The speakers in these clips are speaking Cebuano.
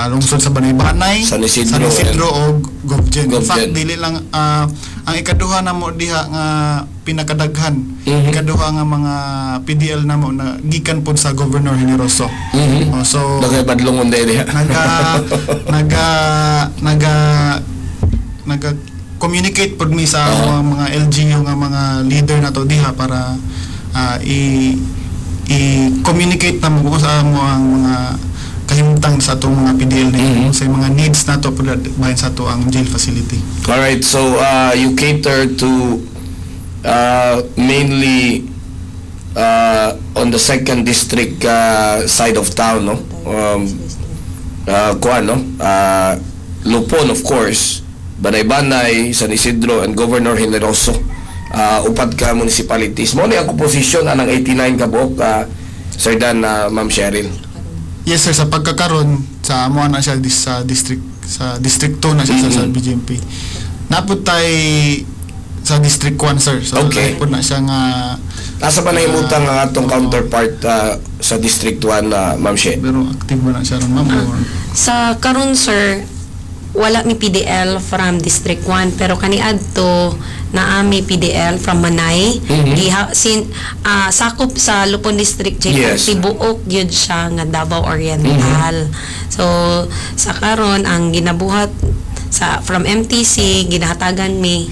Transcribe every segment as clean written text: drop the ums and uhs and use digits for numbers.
lungsod sa Banay-Banay, San Isidro, San Isidro og Govgen. In fact, Govgen. Dili lang ang ikaduha namo diha nga pinakadaghan. Ikaduha nga mga PDL namo na gikan pod sa Governor Generoso. Oh, so Daghay badlongon diha. Naga naga naga naga communicate pod mi sa mga LGU nga mga leader nato diha para i i communicate na mo sa amo ang mga kahimtang sa atong mga PDL na sa mga needs nato pod bahin sa ato ang jail facility. Alright, so you cater to mainly on the second district side of town, no? Kuan, no? Lupon, of course, Banay-Banay, San Isidro, and Governor Generoso. Upat ka municipalities. Mao ni ang komposisyon anang 89 ka buok, Sir Dan, Ma'am Cheryl. Yes sir, sa pagkakaron sa amo na siya sa district 2 na siya sa BJMP. Naa pod tay sa District 1, sir. So lahi pod na siya nga. Asa pa nahimutang ang atong counterpart sa District 1, Ma'am She? Pero active ba na siya ron, ma'am? Sa karon, sir, wala mi PDL from District 1, pero kaniadto naa mi PDL from Manay. Giha sin sakop sa Lupon District Jail. Tibuok gyud siya nga Davao Oriental. So sa karon, ang ginabuhat sa from MTC, ginahatagan mi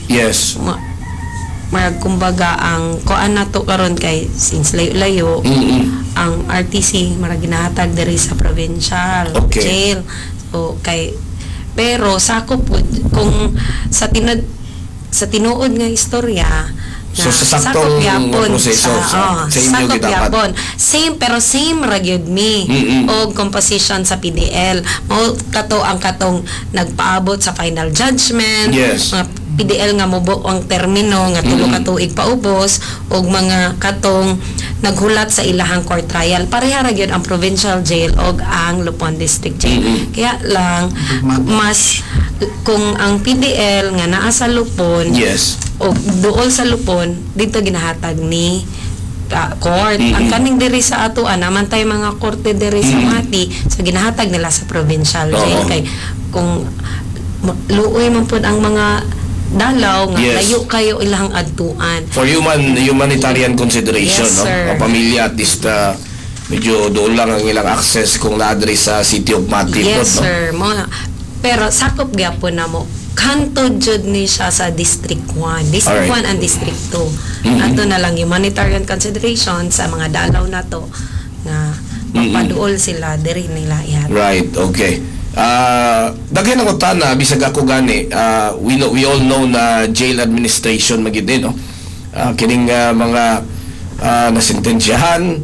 marag kumbaga ang kuan nato karon kay since layo-layo ang RTC, marag ginahatag diri sa provincial jail. So kay pero sakop pud kung sa tinuod nga istorya. So, sa saktong sakop gyapon proseso, oh, sa inyo sakop gyud dapat. gyapon. Same, pero same ra gyud mi og composition sa PDL. Mao kato ang katong nagpaabot sa final judgment, mga PDL nga mubo ang termino nga 3 ka tuig paubos, ug mga katong naghulat sa ilahang court trial. Pareha ra gyud ang provincial jail og ang Lupon District Jail. Kaya lang mas kung ang PDL nga naa sa Lupon o duol sa Lupon, dito ginahatag ni court. Ang kaning diri sa atoa naman tay mga korte diri sa Mati, so ginahatag nila sa provincial jail kay kung luoy man pud ang mga dalaw nga layo kayo ilang adtuan. For humanitarian consideration, Yes, no? sir. Ang pamilya at least medyo doon lang ang ilang access kung naadri sa City of Mati Yes, pod, no? sir. Mo na. Pero sakop gyapon na mo. Kanto jud ni siya sa District 1. District 1 and District 2. Ato na lang humanitarian consideration sa mga dalaw na to nga mapaduol sila diri nila ihatag. Right, okay. Daghan ang utana bisag ako gani, we all know na jail administration magyud eh, no? Kining mga nasentensyahan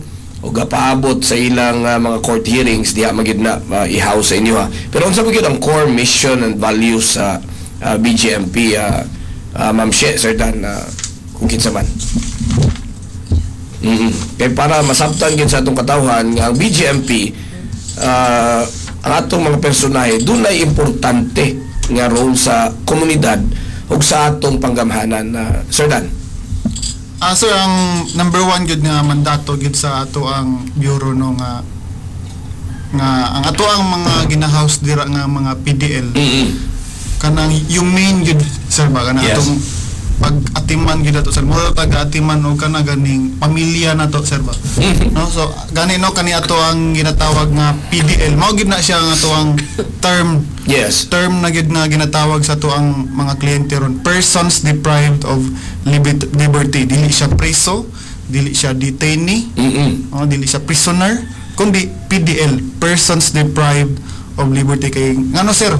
o gapaabot sa ilang mga court hearings diha magyud na i-house sa inyo ha. Pero unsa magyud ang core mission and values sa BJMP, Ma'am She, Sir Dan, kung kinsa man? Kay para masabtan gyud sa atong katawhan nga ang BJMP, ang atong mga personahe dunay importante nga role sa komunidad ug sa atong panggamhanan na, Sir Dan. Sir, ang number one gyud nga mandato gyud sa ato ang bureau, no, nga nga ang ato ang mga ginahouse dira nga mga PDL, kanang yung main gyud, sir, ba kanang atong pag atiman gyud ato, sir, mura taga atiman og kana ganing pamilya na to, sir, ba, no? So gani, no, kani ato ang ginatawag nga PDL, mao gyud na siya ang ato ang term term na gyud nga ginatawag sa ato ang mga kliyente ron, persons deprived of liberty. Dili siya preso, dili siya detainee, oh, dili siya prisoner, kundi PDL, persons deprived of liberty, kay ngano, sir,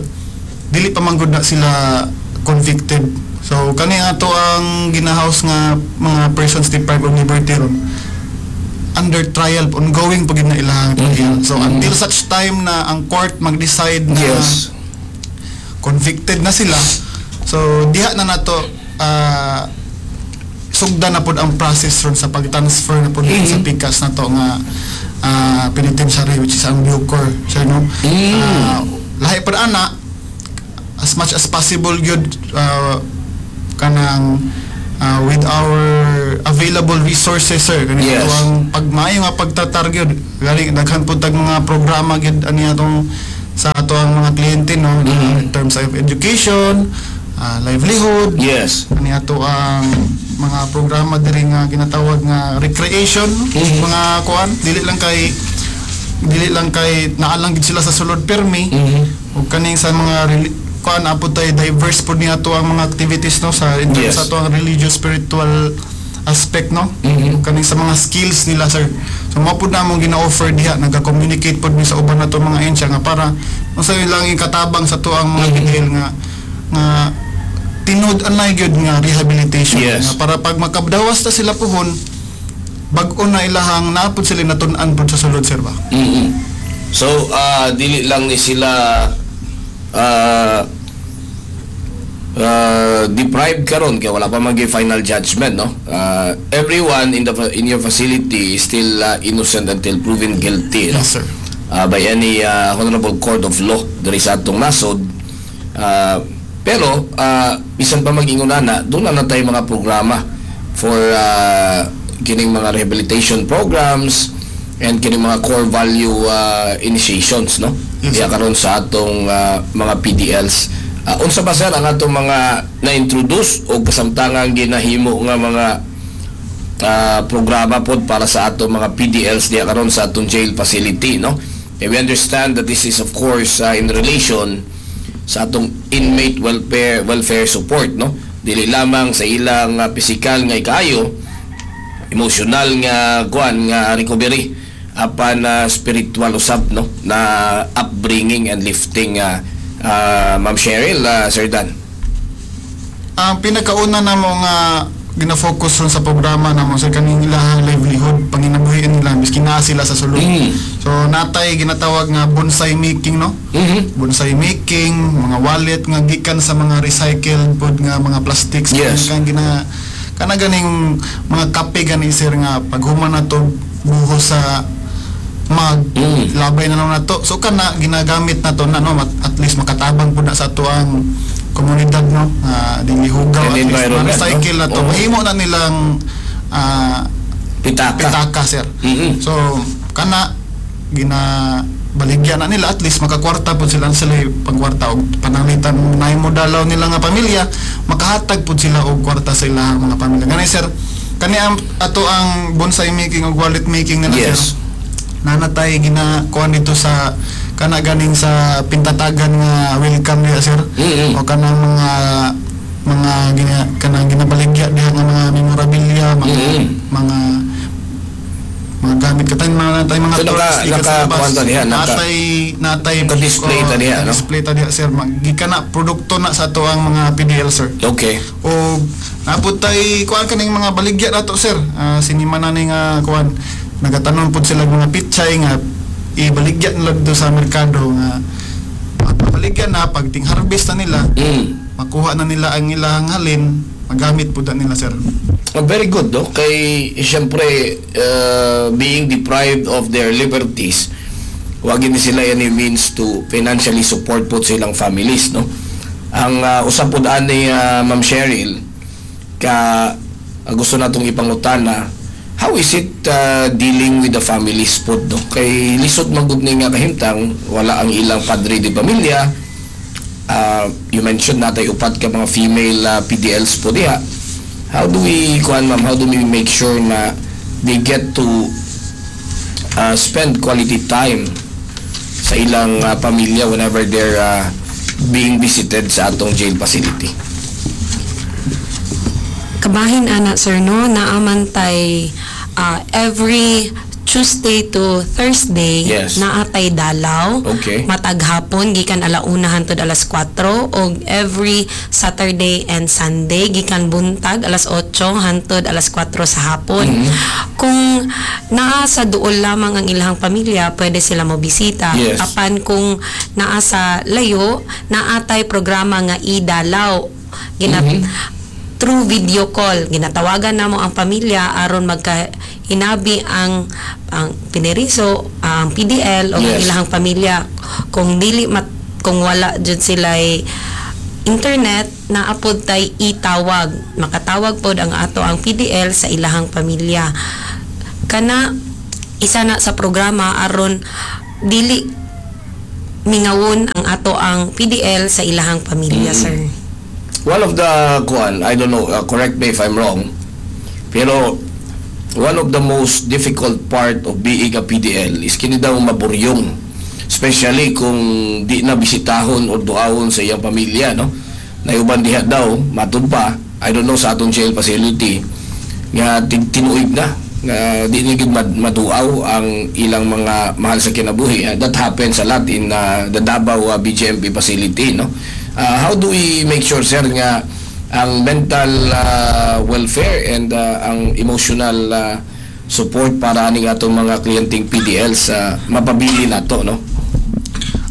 dili pa man gud na sila convicted. So kani ato ang ginahouse nga mga persons deprived of liberty ron, under trial, ongoing pa gid na ilang trial. So until such time na ang court mag-decide na convicted na sila, so diha na nato sugdan na pod ang process ron sa pag-transfer na pod sa pikas na to nga penitentiary, which is ang Bucor, sir, no? Lahi pod ana, as much as possible gyud, kanang with our available resources, sir, kani ato ang pagmaayo nga pagtratar gyud, gani daghan pud tag mga programa gyud ani atong sa ato ang mga kliyente, no, in terms of education, livelihood, ani ato ang mga programa diri nga ginatawag nga recreation, mga kuan, dili lang kay naa lang gid sila sa sulod permi. Ug kaning sa mga kuan apod tay diverse pod ni ato ang mga activities, no, sa in terms sa ato ang religious spiritual aspect, no, ug kaning sa mga skills nila, sir. So mao pud na among gina-offer diha, nagka-communicate pod mi sa uban nato mga ahensya nga para unsa lang ikatabang sa ato ang mga PDL nga nga tinud anay gyud nga rehabilitation, nga para pag makabdawas ta sila puhon, bag-o na ilahang napod sila natun-an pod sa sulod, sir, ba. So, dili lang ni sila deprived karon kay wala pa man gyud final judgment, no? Everyone in your facility is still innocent until proven guilty, no? Yes, sir. By any honorable court of law diri sa atong nasod. Pero bisan pa mag-ingon na, doon na tayo mga programa for kining mga rehabilitation programs and kining mga core value initiations, no? Yes, Diya sir. Karon sa atong mga PDLs. Unsa ba, sir, ang atong mga na-introduce o kasamtangang ginahimo nga mga programa pod para sa atong mga PDLs diya karon sa atong jail facility, no? And we understand that this is, of course, in relation sa atong inmate welfare support, no? Dili lamang sa ilang pisikal nga ikaayo, emosyonal nga kuan nga recovery, apan spiritual usab, no, na upbringing and lifting, Ma'am Cheryl, Sir Dan. Ang pinakauna na mo nga gina-focus ron sa programa namo sa kaning ilahang livelihood, panginabuhian nila miski naa sila sa sulod. So natay ginatawag nga bonsai making, no? Bonsai making, mga wallet nga gikan sa mga recycled pod nga mga plastics, kang gina kana ganing mga kape gani, sir, nga paghuman na to buhos sa mag labay na lang nato. So kana ginagamit na to na, no, at least makatabang pud na sa ato ang komunidad, no, nga dili hugaw, And at least environment, ma-recycle no? na to, mahimo na nilang Pitaka. Pitaka, sir. So kana gina baligya na nila, at least makakwarta pud sila sila pagkwarta og pananglitan naay mo dalaw nila nga pamilya, makahatag pud sila og kwarta sa ilang mga pamilya. Gani, sir, kani ang ato ang bonsai making og wallet making nila, sir. Nanatay gina kuan dito sa kana ganing sa pintatagan nga welcome diha, sir, o kanang mga gina, kanang ginabaligya diha nga mga memorabilia, mga mga mga gamit katang mga natay mga So, toys gikan sa labas. kuwan ta diha, Natay naka-display ta diha, no? Display ta diha, sir. Gikan na produkto na sa ato ang mga PDL, sir. O napud tay kuan kaning mga baligya nato, sir. Sinima na ni nga kuan, nagatanom pud sila mga pichay nga ibaligya nila dito sa merkado nga pag baligya na, pag ting harvest na nila, makuha na nila ang ilang halin, magamit pud na nila, sir. Oh, very good, no? Kay, siyempre, being deprived of their liberties, wag ni sila any means to financially support po silang families, no? Ang usap po ani, Ma'am Cheryl, ka gusto natong ipangutana, how is it dealing with the families po, no? Kay lisod man gud ni nga kahimtang, wala ang ilang padre de pamilya. You mentioned natay upat ka mga female PDLs po diha. How do we, kuan, ma'am, how do we make sure na they get to spend quality time sa ilang pamilya whenever they're being visited sa atong jail facility? Kabahin ana, sir, no, naaman tay every Tuesday to Thursday naatay dalaw matag hapon gikan alauna hantod alas 4, og every Saturday and Sunday gikan buntag alas 8 hantod alas 4 sa hapon. Kung naa sa duol lamang ang ilang pamilya, pwede sila mo bisita. Apan kung naa sa layo, naatay programa nga idalaw. Gina through video call, ginatawagan namo ang pamilya aron magka hinabi ang pineriso, ang PDL o ang ilahang pamilya. Kung dili mat kung wala jud sila internet, naapod tay itawag. Makatawag pod ang ato ang PDL sa ilahang pamilya. Kana isa na sa programa aron dili mingawon ang ato ang PDL sa ilahang pamilya, sir. One of the kuan, I don't know, correct me if I'm wrong, pero one of the most difficult part of being a PDL is kini daw maburyong. Especially kung di na bisitahon o duawon sa iyang pamilya, no? Nayuban diha daw, matud pa, I don't know sa atong jail facility, nga tinuig na, nga di ni gid maduaw ang ilang mga mahal sa kinabuhi. That happens a lot in the Davao BJMP facility, no? How do we make sure, sir, nga ang mental welfare and ang emotional support para aning atong mga kliyenteng PDLs mapabili nato, no?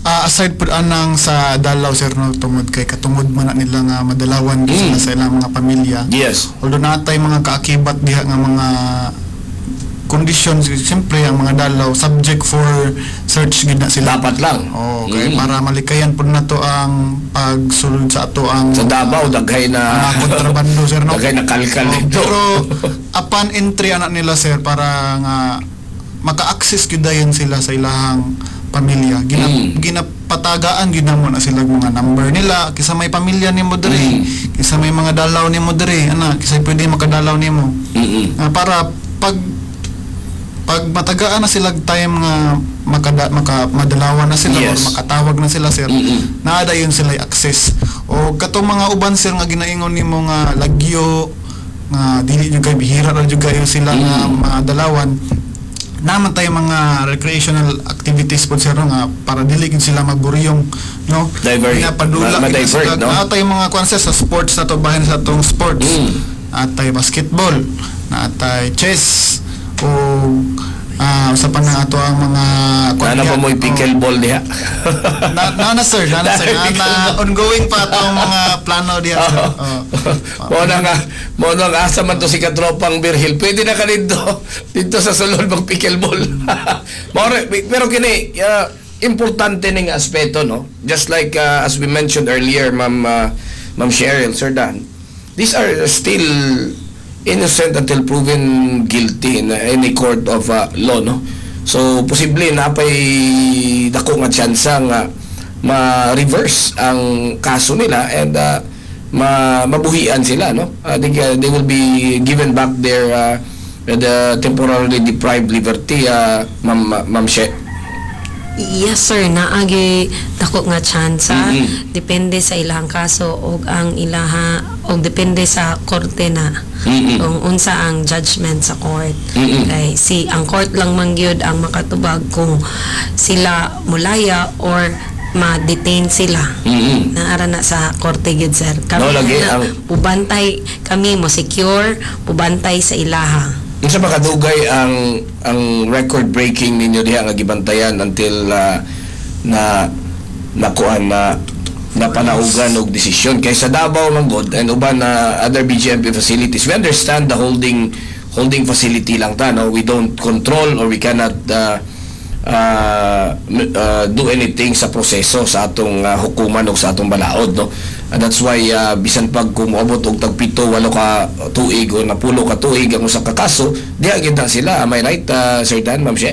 Aside po anang sa dalaw, sir, no, tungod kay katungod man na nila nga madalawan sila sa ilang mga pamilya. Although natay mga kaakibat diha nga mga conditions, siyempre ang mga dalaw subject for search gid na sila. Dapat lang. Oh, kay para malikayan pud nato ang pagsulod sa ato ang Sa Davao daghay na mga kontrabando, sir, no. Daghay na kalkal Oh, dito. pero upon entry anak nila, sir, para nga maka-access gyud dayon sila sa ilahang pamilya. Ginapatagaan gyud namo na sila mga number nila, kisa may pamilya nimo diri, kisa may mga dalaw nimo diri, ana, kisa pwede makadalaw nimo. Para pag matagaan na sila time nga maka madalawan na sila or makatawag na sila, sir, naa dayon sila access. O katong mga uban, sir, nga ginaingon nimo nga lagyo nga dili jud kay bihira ra jud kayo sila nga madalawan, naman tayo mga recreational activities po, sir, no, nga para dili gid sila magburyong, no. Divert. Ginapadula gid Ma-divert, sila. no? Naa tayo mga kwan, sir, sa sports na to, bahin sa atong sports, atay basketball, naatay chess o sa pa na ato ang mga Ano pa mo'y pickleball diha? Na, sir, na, sir, na, ongoing pa atong mga plano diha, sir. Oh. Mo na nga asa man to si katropang Birhil. Pwede na ka dito dito sa sulod mag pickleball. Mao pero kini importante ning aspeto, no. Just like as we mentioned earlier, Ma'am Cheryl, Sir Dan, these are still innocent until proven guilty in any court of law, no. So posible na pay dako nga tsansa nga ma-reverse ang kaso nila and mabuhian sila, no. I think they will be given back their the temporarily deprived liberty, Ma'am She. Yes, sir, naagi dako nga tsansa. Depende sa ilang kaso og ang ilaha og depende sa korte na kung unsa ang judgment sa court. Kay si ang court lang man gyud ang makatubag kung sila mulaya or ma-detain sila. Naara na sa korte gyud, sir. Kami No, lagi, na, pubantay kami mo secure, pubantay sa ilaha. Unsa ba kadugay ang record breaking ninyo diha nga gibantayan until na nakuan na napanaugan og desisyon kay sa Davao man gud and uban na other BJMP facilities? We understand the holding holding facility lang ta, no? We don't control or we cannot do anything sa proseso sa atong hukuman o sa atong balaod, no. And that's why bisan pag kung moabot og tag 7, 8 ka tuig o napulo ka tuig ang usa ka kaso, diha gyud na sila. Am I right, Sir Dan, Ma'am She?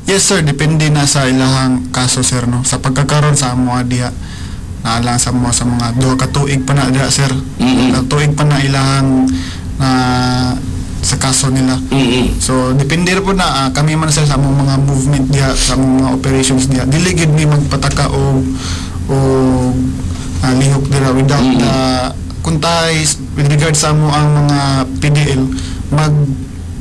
Yes, sir, depende na sa ilahang kaso, sir, no. Sa pagkakaroon sa amo diha naa sa mo sa mga 2 ka tuig pa na diha, sir. Ka tuig pa na ilahang na sa kaso nila. So depende ra po na kami man, sir, sa among mga movement diha, sa among mga operations diha. Dili gid mi magpataka o lihok dira without the kuntay with regard sa amo ang mga PDL,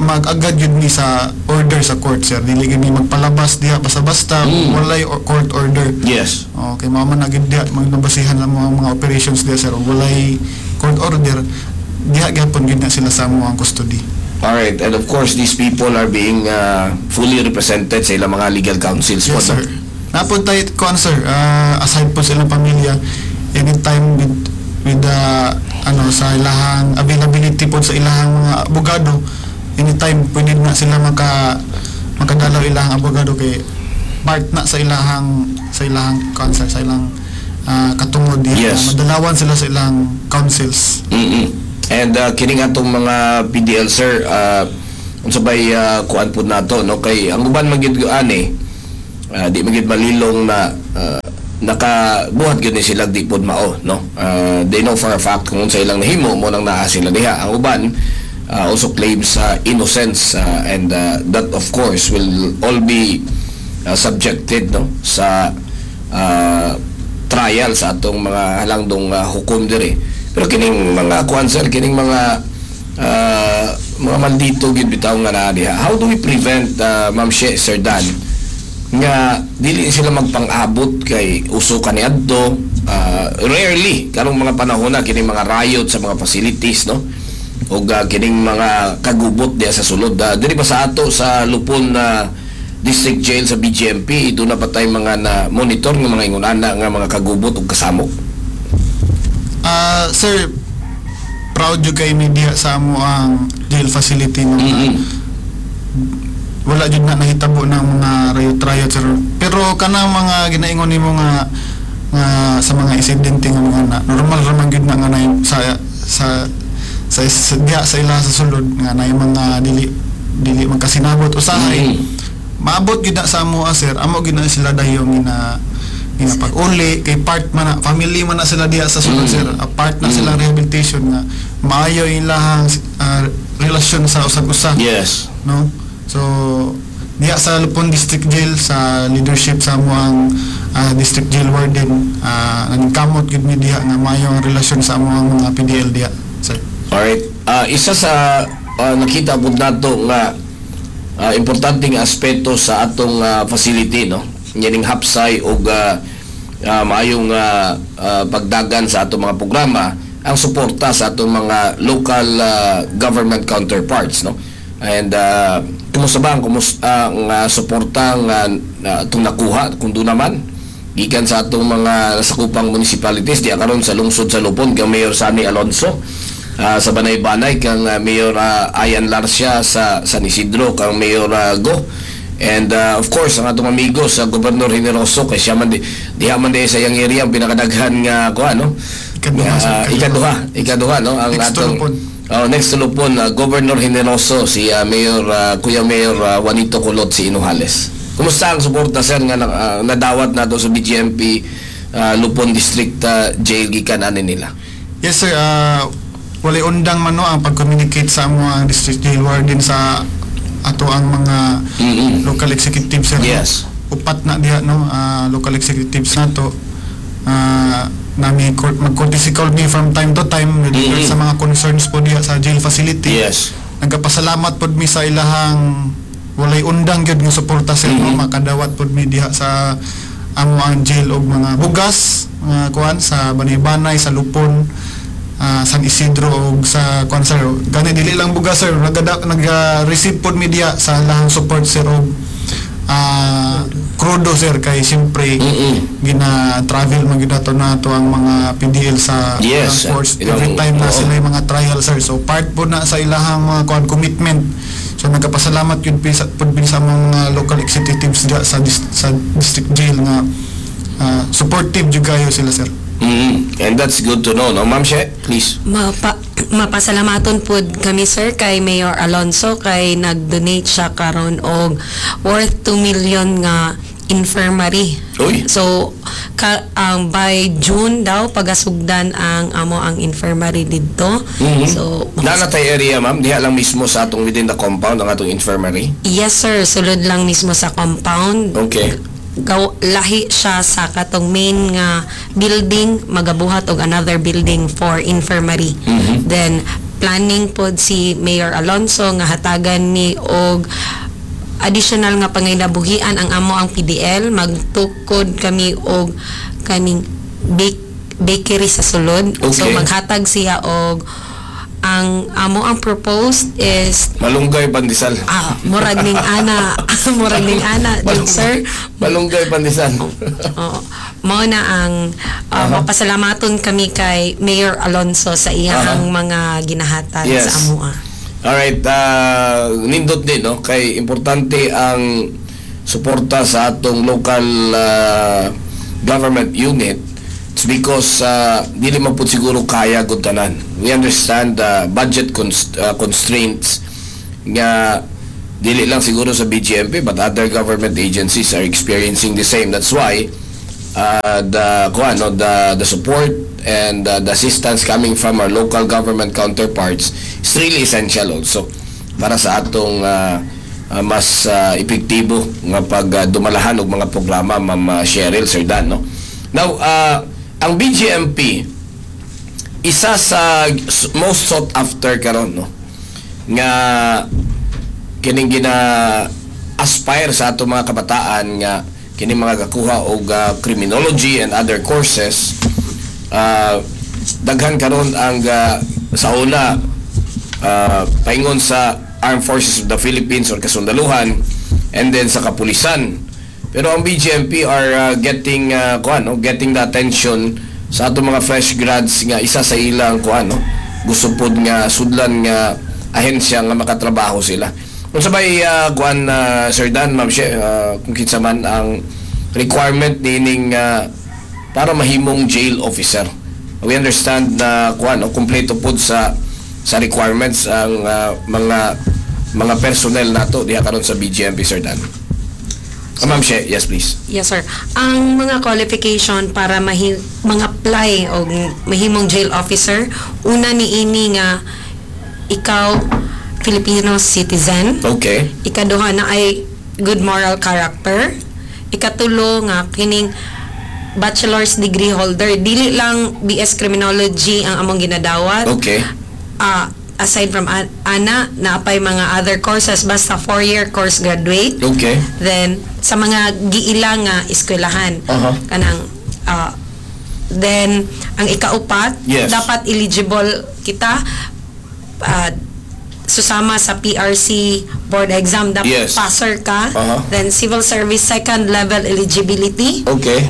mag-agad yun ni sa order sa court, sir. Dili gid mi magpalabas diha basta-basta walay court order. Okay, mao man na gid diha magnabasihan ang mga operations diha, sir. Ug walay court order, diha gyapon gid na sila sa amo ang custody. Alright, and of course these people are being fully represented sa ilang mga legal counsels po, Yes, no? sir. Napod tayo kuan, sir, aside po sa ilang pamilya, anytime with the ano sa ilahang availability po sa ilahang mga abogado, anytime pwede na sila makadalaw ilahang abogado kay part na sa ilahang kuan, sir, sa ilang katungod diha na madalawan sila sa ilang counsels. And kining atong mga PDL, sir, unsa bay kuan pud nato, no, kay ang uban man gyud ani Di man gyud malilong na nakabuhat gyud ni sila di pod mao, no? They know for a fact kung unsa ilang nahimo, mo nang naa sila diha. Ang uban also claims innocence and that of course will all be subjected, no, sa trial sa atong mga halangdong hukom diri. Pero kining mga kuan, sir, kining mga maldito gyud bitaw nga naa diha, how do we prevent, Ma'am She, Sir Dan, nga dili sila magpang-abot kay uso kaniadto, rarely karong mga panahon na kining mga riot sa mga facilities, no, ug kining mga kagubot diha sa sulod? Diri pa sa ato sa Lupon na District Jail sa BGMP, duna pa tay mga na monitor nga mga ingon ana nga mga kagubot ug kasamok? Sir, proud jud kay mi diha sa amo ang jail facility, no? Wala jud na nahitabo ng mga riot-riot, sir. Pero kanang mga ginaingon nimo nga sa mga insidente nga mga na normal ra man gyud na nga na sa diha sa ila sa sulod nga na mga dili dili magkasinabot usahay, maabot gyud na sa amo, sir. Amo gyud na sila dayon gina pag-uli kay part man na, family man na sila diha sa sulod, sir. A part na sila rehabilitation nga maayo ilahang relasyon sa usag-usa, no? So diha sa Lupon District Jail, sa leadership sa amoang district jail warden, nagkamot gyud mi diha nga maayo ang relasyon sa amoang mga PDL diha, sir. Alright. Isa sa nakita pud nato nga importanteng aspeto sa atong facility, no, yaning hapsay og maayong pagdagan sa atong mga programa, ang suporta sa atong mga local government counterparts, no? And kumusta ba ang suporta nga atong nakuha, kung duna man, gikan sa atong mga nasakupang municipalities diya karon sa lungsod sa Lupon, kang Mayor Sonny Alonso sa Banay-Banay, kang Mayor Ayan Larcia sa San Isidro, kang Mayor Go, and of course ang atong amigo sa Governor Generoso, kay siya man di diha man di sa iyang area ang pinakadaghan nga kuan, no? Ikaduha, Nga, sir. Ikaduha, ikaduha, no, ang Next to atong Lupon. Oh, next to Lupon, Governor Generoso, si Mayor Kuya Mayor Juanito Kulot si Inojales. Kumusta ang suporta, sir, nga nadawat nato sa BGMP Lupon District Jail gikan ani nila? Yes, sir, walay undang man, no, ang pag-communicate sa amo ang district jail warden sa ato ang mga local executives, sir, no? Upat na diha, no, local executives nato. Nami mag-courtesy call me from time to time with regards sa mga concerns po diha sa jail facility. Nagapasalamat pod mi sa ilahang walay undang gyud nga suporta, sir, no? Makadawat pod mi diha sa amo ang jail og mga bugas, mga kuan sa Banay-Banay, sa Lupon, San Isidro og sa kuan, sir. Gani dili lang bugas, sir, naga-receive pod mi diha sa ilahang support, sir, og krudo, sir, kay siyempre gina-travel man gyud ato nato ang mga PDL sa ilang courts every time na sila yung mga trial, sir. So part po na sa ilahang mga kuan commitment. So nagapasalamat yun pud sa mga local executives diha sa district jail nga supportive jud kayo sila, sir. And that's good to know, no? Ma'am She, please. Mapasalamaton pud kami, sir, kay Mayor Alonso kay nag-donate siya karon og worth 2 million nga infirmary. Uy. So ang by June daw pagasugdan ang amo ang infirmary didto. So Naa tay area, ma'am, diha lang mismo sa atong within the compound ang atong infirmary? Yes, sir, sulod lang mismo sa compound. Gaw, lahi siya sa katong main nga building, magabuhat og another building for infirmary. Then planning pod si Mayor Alonso nga hatagan ni og additional nga panginabuhian ang amo ang PDL. Magtukod kami og kaning bakery sa sulod. So maghatag siya og ang amo ang proposed is Malunggay pandesal. Ah, murag ning ana jud, sir. Malunggay pandesal. Oo. Mao na ang mapasalamaton kami kay Mayor Alonso sa iyang mga ginahatag sa amoa. Alright, nindot din, no, kay importante ang suporta sa atong local government unit. It's because dili man pud siguro kaya gud tanan. We understand the budget constraints nga Dili lang siguro sa BGMP, but other government agencies are experiencing the same. That's why the kuan, no, the support and the assistance coming from our local government counterparts is really essential also para sa atong mas epektibo nga pag dumalahan og mga programa, Ma'am Cheryl, Sir Dan, no? Now, ang BGMP, isa sa most sought after karon, no, nga kining gina aspire sa ato mga kabataan nga kini mga gakuha og criminology and other courses. Daghan karon ang sa una paingon sa Armed Forces of the Philippines or kasundaluhan and then sa kapulisan, pero ang BGMP are getting kuan, no, getting the attention sa ato mga fresh grads nga isa sa ilang kuan, no, gusto pod nga sudlan nga ahensya nga makatrabaho sila. Kung sabay kuan, Sir Dan, Ma'am She, kung kinsa man ang requirement nining para mahimong jail officer? We understand na kuan, no, kumpleto pod sa requirements ang mga personnel nato diha karon sa BGMP, Sir Dan. Ma'am She, yes, please. Yes, sir. Ang mga qualification para mga-apply o mahimong jail officer, una ni ini nga ikaw Filipino citizen. Ikaduha na ay good moral character. Ikatulo nga kining bachelor's degree holder. Dili lang BS Criminology ang among ginadawat. Aside from ana, naapay mga other courses, basta 4-year course graduate. Then sa mga giila nga eskwelahan. Kanang then ang ikaupat, dapat eligible kita susama sa PRC board exam, dapat passer ka. Then civil service second level eligibility.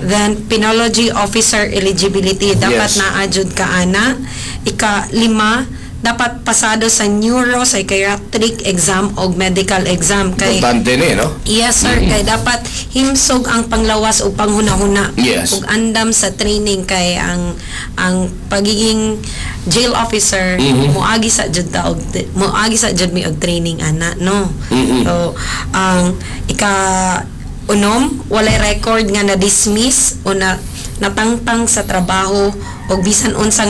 Then penology officer eligibility, dapat naa jud ka ana. Ika lima, dapat pasado sa neuropsychiatric exam o medical exam kay Importante ni, no? Yes, sir, kay dapat himsog ang panglawas o panghunahuna ug andam sa training kay ang pagiging jail officer, moagi sa jud mi og training ana, no? So ang ika unom, walay record nga na dismiss o na natangtang sa trabaho o bisag unsa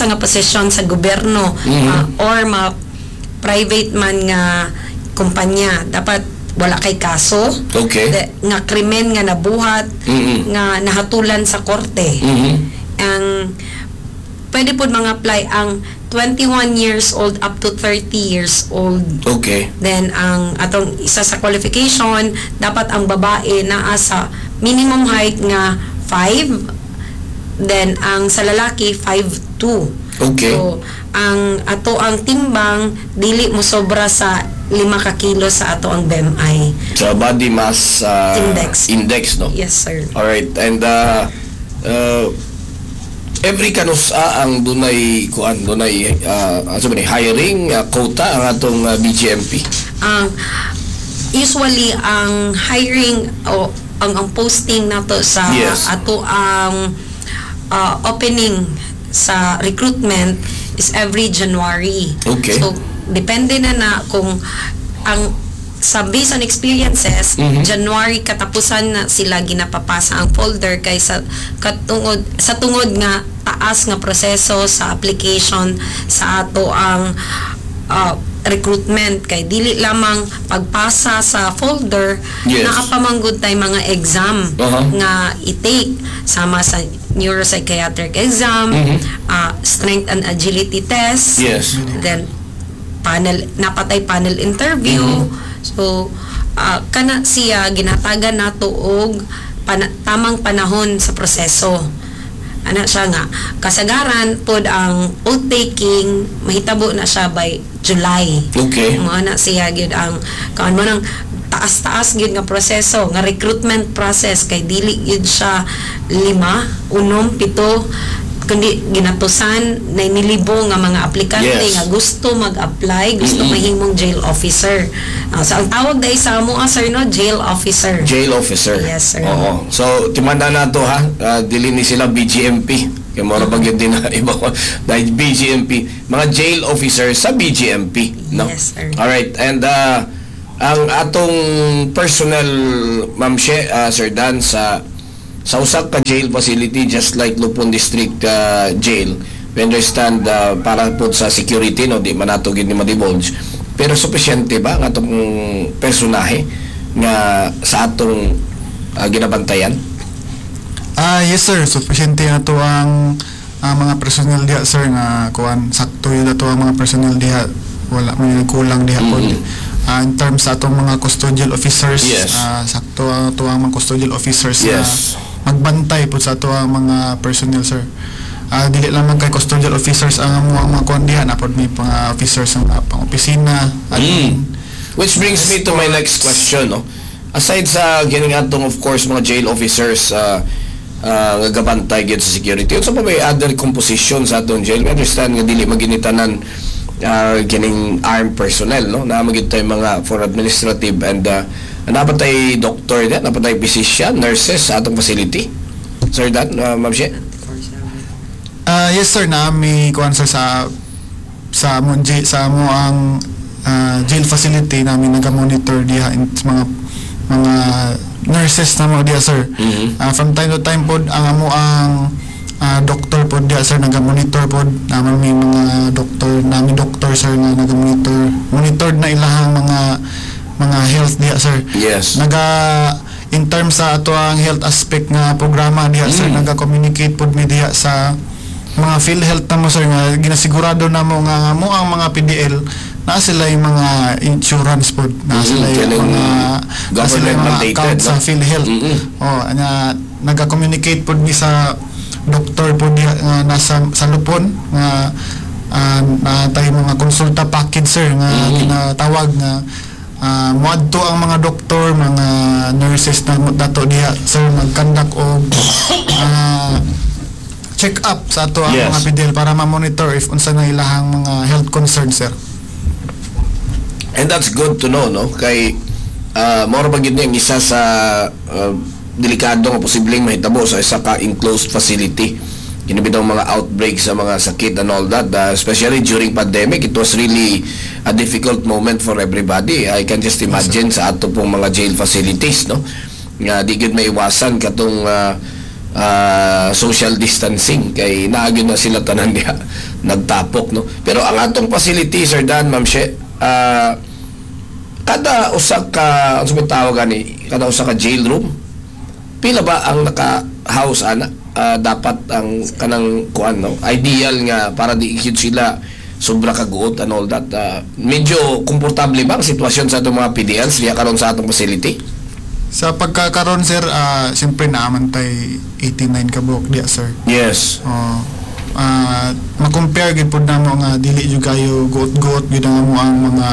nga posisyon sa gobyerno or ma private man nga kumpanya, dapat wala kay kaso nga krimen nga nabuhat nga nahatulan sa korte. Ang pwede pod mga apply ang 21 years old up to 30 years old. Then ang atong isa sa qualification, dapat ang babae naa sa minimum height nga 5, then ang sa lalaki 5'2. So ang ato ang timbang dili mo sobra sa 5 ka kilo sa ato ang BMI. Sa body mass Index. Index, no? Yes, sir. Alright, and every kanusa ang dunay kuan, dunay ano ba ni, hiring quota ang atong BGMP? Ang usually ang hiring o ang posting nato sa ato ang opening sa recruitment is every January. So depende na na kung ang sa based on experiences, January katapusan na sila ginapapasa ang folder kay sa katungod sa tungod nga taas nga proseso sa application sa ato ang recruitment kay dili lamang pagpasa sa folder, naa pa man gud tay mga exam nga i-take sama sa neuropsychiatric exam, strength and agility test, then panel, naa pa tay panel interview. So kana siya ginatagan nato og tamang panahon sa proseso ana siya nga kasagaran pod ang oath taking mahitabo na siya by July. Mo na siya gyud ang kaan mo nang taas-taas gyud nga proseso nga recruitment process kay dili gyud siya lima, unom, pito, kundi ginatusan na nilibo nga mga aplikante nga gusto mag-apply, gusto mahimong jail officer. So ang tawag dai sa amo, sir, no, jail officer. Jail officer. Yes, sir. Oo. So timanda na to ha. Dili ni sila BGMP. Kaya mura ba gyud din na iba ko dahil BGMP, mga jail officer sa BGMP, no? Yes, sir. All right. And Ang atong personnel, Ma'am She, Sir Dan, sa usa ka jail facility just like Lupon District Jail, we understand para po sa security, no, di man nato gid ni ma-divulge. Pero sufisyente ba ang atong personahe nga sa atong ginabantayan? Ah, yes, sir, sufficiente ato ang mga personnel diha, sir, nga kuan, sakto yun ato ang mga personnel diha, wala may kulang diha pod. In terms sa atong mga custodial officers, sakto ato ang mga custodial officers na magbantay pod sa ato ang mga personnel, sir. Dili lamang kay custodial officers ang amo ang mga kuan diha, na pod may mga officers ang pang opisina, admin. Which brings me to my next question, no? Aside sa kining atong, of course, mga jail officers nga gabantay gyud sa security, unsa pa may other composition sa atong jail? We understand nga dili man gyud ni tanan kining armed personnel, no? Naa man gyud tay mga for administrative and naa pa tay doctor diha, naa pa tay physician, nurses sa atong facility. Sir Dan, Ma'am She? Ah, yes, sir, na may kuan, sir, sa mo ang jail facility namin naga-monitor diha in mga nurses na mo diha, sir. From time to time pod ang amo ang doctor pod diha, sir, naga-monitor pod naman, may mga doctor namin, doctor, sir, nga naga-monitor, monitored na ilahang mga health diha, sir. Naga in terms sa ato ang health aspect nga programa diha, sir, naga-communicate pod mi diha sa mga PhilHealth na mo, sir, nga ginasigurado na mo nga mo ang mga PDL na sila yung mga insurance pod na sila yung Kanang mga na sila yung mga government mandated, account sa no? PhilHealth. Oh, nga naga-communicate pod mi sa doktor pod diha nga nasa sa Lupon nga na tayo mga konsulta package, sir, nga ginatawag nga moadto ang mga doktor, mga nurses na dato diha, sir, mag-conduct og check up sa ato ang mga PDL para ma-monitor if unsa na ilahang mga health concerns, sir. And that's good to know, no? Kay mao ba gyud ni ang isa sa delikado nga posibleng mahitabo sa isa ka enclosed facility. Kini bitaw mga outbreak sa mga sakit and all that, especially during pandemic, it was really a difficult moment for everybody. I can just imagine sa ato pong mga jail facilities, no? Nga di gyud maiwasan katong social distancing kay naa gyud na sila tanan diha nagtapok, no? Pero ang atong facility, Sir Dan, Ma'am She, kada usa ka, unsa may tawag ani, kada usa ka jail room, pila ba ang naka-house ana? Dapat ang kanang kuan, no, ideal nga para di gyud sila sobra kaguot and all that, medyo komportable ba ang sitwasyon sa atong mga PDLs diha karon sa atong facility? Sa pagkakaroon, sir, siyempre naaman tay 89 ka buok diya, sir. Oh, ma-compare gid pud namo nga dili jud kayo guot-guot gid ang amo ang mga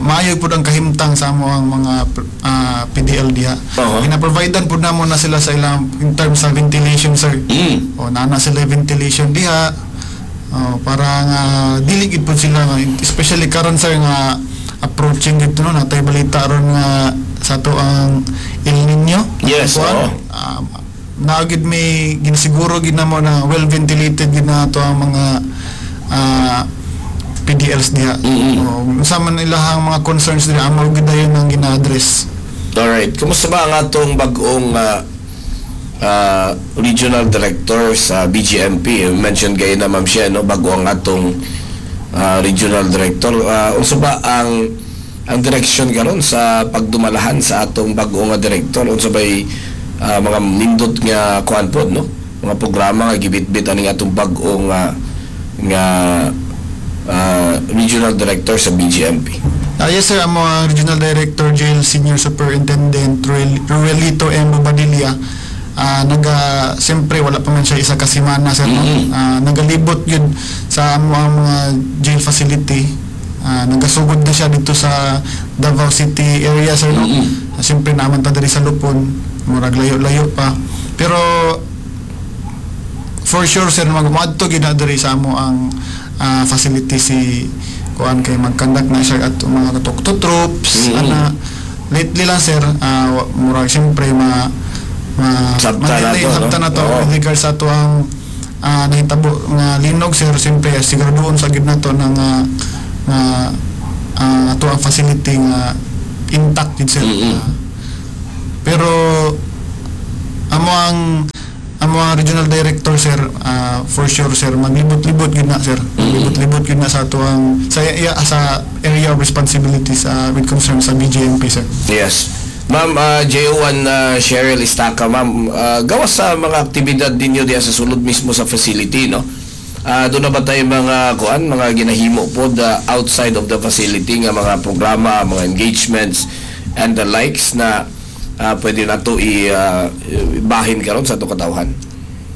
maayo pud ang kahimtang sa amo ang mga PDL diha. Gina-providean pud namo na sila sa ilang in terms sa ventilation, sir. O naa na sila ventilation diha. Oh, para nga dili gid pud sila nga, especially karon, sir, nga approaching dito, no, natay balita ron nga sa ato ang El Nino. Kuan, naa gid may ginasiguro gid namo na well ventilated gid na ato ang mga PDLs diha. Oh, unsa man ilahang mga concerns diha, amo gid dayon ang gina-address. Alright. Kumusta ba ang atong bag-ong regional director sa BGMP? You mentioned kayo na, Ma'am Shia, no? Bago ang atong regional director. Unsa ba ang direksyon karon sa pagdumalahan sa atong bag-ong nga director? Unsa bay mga nindot nga kuan pod, no? Mga programa nga gibitbit aning atong bag-ong nga regional director sa BGMP? Yes, sir, amo ang Regional Director Jail Senior Superintendent Ruelito M. Bobadilla. Naga siyempre wala pa man siya isa ka semana, sir, no? Nagalibot yun sa amo ang mga jail facility. Nagasugod na siya dito sa Davao City area, sir, no? Siyempre naman ta diri sa Lupon, murag layo-layo pa. Pero for sure, sir, magmuadto gyud na diri sa amo ang facility si kuan kay mag-conduct na siya at mga talk to troops ana. Lately lang, sir, murag siyempre ma ma Sabta na ma-delay, to, no? sabta na to with regards sa ato ang nahitabo nga linog, sir. Siyempre siguraduhon sa gid na to na nga nga Ato ang facility nga intact gid, sir. Pero amo ang regional director, sir, for sure, sir, maglibot-libot gyud na, sir. Maglibot-libot gyud na sa ato ang sa iya, sa area of responsibility sa with concern sa BJMP, sir. Yes. Ma'am, JO1 Cheryl Estaca, ma'am, gawas sa mga aktibidad ninyo diya sa sulod mismo sa facility, no? Doon na ba tayo mga kuan, mga ginahimo po the outside of the facility nga mga programa, mga engagements and the likes na pwede nato i bahin karon sa ato katawhan?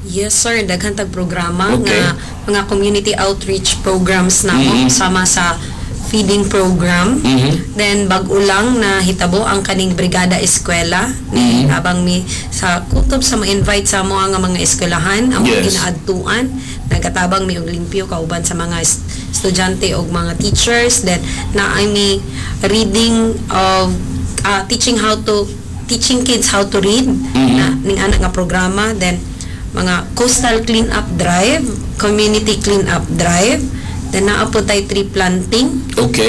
Yes, sir, daghan tag programa nga mga community outreach programs namo sama sa feeding program. Then bag-o lang na hitabo ang kaning Brigada Eskwela ni habang mi sa kutob sa mo-invite sa mo nga mga eskwelahan ang mga ginaadtuan, nagatabang mi og limpyo kauban sa mga estudyante og mga teachers. Then naay mi reading of teaching how to teaching kids how to read na ning ana nga programa. Then mga coastal clean up drive, community clean up drive, then naa po tay tree planting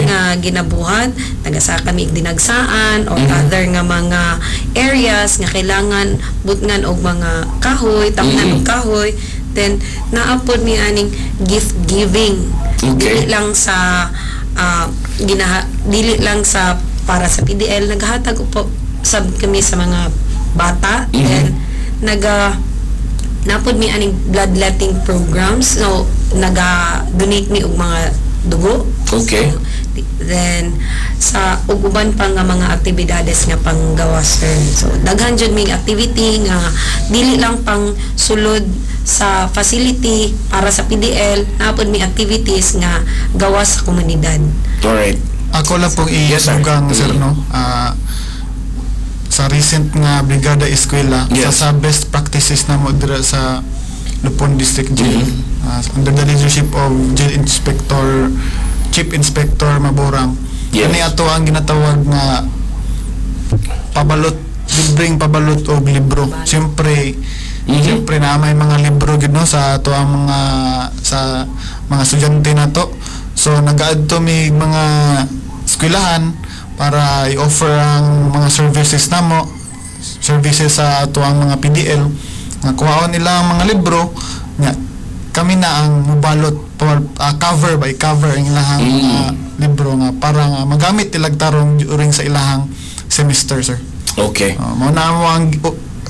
nga ginabuhat, nagasaka mi dinagsaan or other nga mga areas nga kailangan butngan og mga kahoy, tamnan og kahoy. Then naa pod mi aning gift giving. Dili lang sa ginaha, dili lang sa para sa PDL, naghatag po sab kami sa mga bata. Then napod mi aning bloodletting programs, so naga donate mi og mga dugo. So, then sa ug uban pa nga mga aktibidades nga panggawas, sir. So daghan jud mig activity nga dili lang pang sulod sa facility para sa PDL, napod mi activities nga gawas sa komunidad. Ako lang pong Yes, sir. i-dugang, sir, no. Sa recent nga Brigada Eskwela, sa best practices na mo dira sa Lupon District Jail. Under the leadership of Jail Inspector, Chief Inspector Maborang. Kani ato ang ginatawag nga pabalot, libreng pabalot og libro. Siyempre, siyempre na may mga libro gid, no, sa ato ang mga sa mga estudyante nato. So nagaadto mi mga eskwelahan para i-offer ang mga services namo, services sa ato ang mga PDL nga kuhaon nila ang mga libro nya kami na ang mubalot cover by cover ang ilahang mga libro nga para nga magamit nilag tarong during sa ilahang semester, sir. Mao na mo ang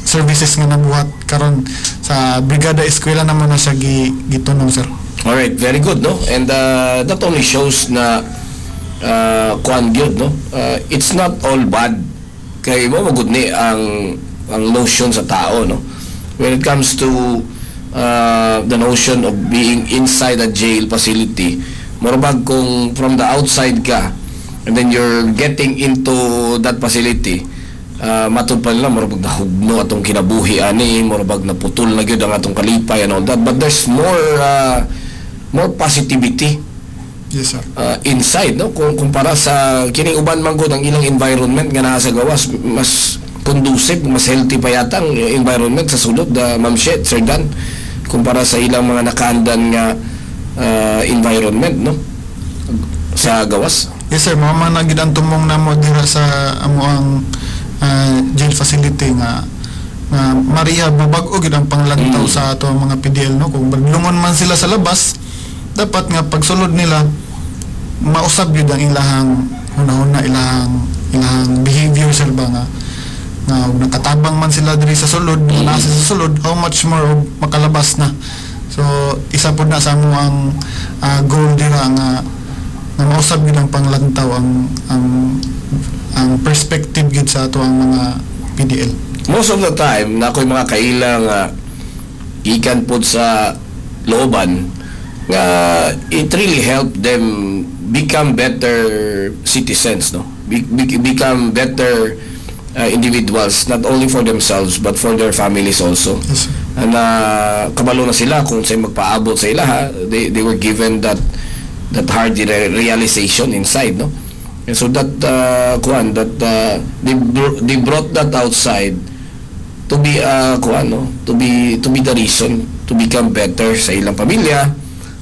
services nga nabuhat karon sa Brigada Eskwela naman na siya gitunong, sir. Alright, very good, no? And that only shows na kuan gyud, no? It's not all bad. Kay mo magud ni ang notion sa tao, no? When it comes to the notion of being inside a jail facility, murabag kung from the outside ka and then you're getting into that facility, matud pa nila murabag nahugno atong kinabuhi ani, murabag naputol na gyud ang atong kalipay and all that, but there's more positivity Yes, sir. Inside, no, kung kumpara sa kining uban man gud ang ilang environment nga naa sa gawas, mas conducive, mas healthy pa yata ang environment sa sulod, Ma'am Shet, Sir Dan, kumpara sa ilang mga nakaandan nga environment, no, sa gawas. Yes, sir, mao man na gid ang tumong namo dira sa amo ang jail facility nga ma-rehab, mabag-o gid ang panglantaw sa ato ang mga PDL, no. Kung maglungon man sila sa labas, dapat nga pagsulod nila mausab gyud ang ilahang hunahuna, ilahang behavior, sir, ba nga ug nakatabang man sila diri sa sulod, nga naa sila sa sulod, how much more og makalabas na. So isa pud na sa amo ang goal dira nga mausab gyud ang panglantaw, ang perspective gyud sa ato ang mga PDL. Most of the time na ako'y mga kaila nga gikan pod sa looban nga it really helped them become better citizens, no, become better individuals, not only for themselves but for their families also. Yes, sir. And kabalo na sila kung sa magpaabot sa ilaha. They were given that hard realization inside, no? And so that kuan that they brought that outside to be kuan, no, to be the reason to become better sa ilang pamilya,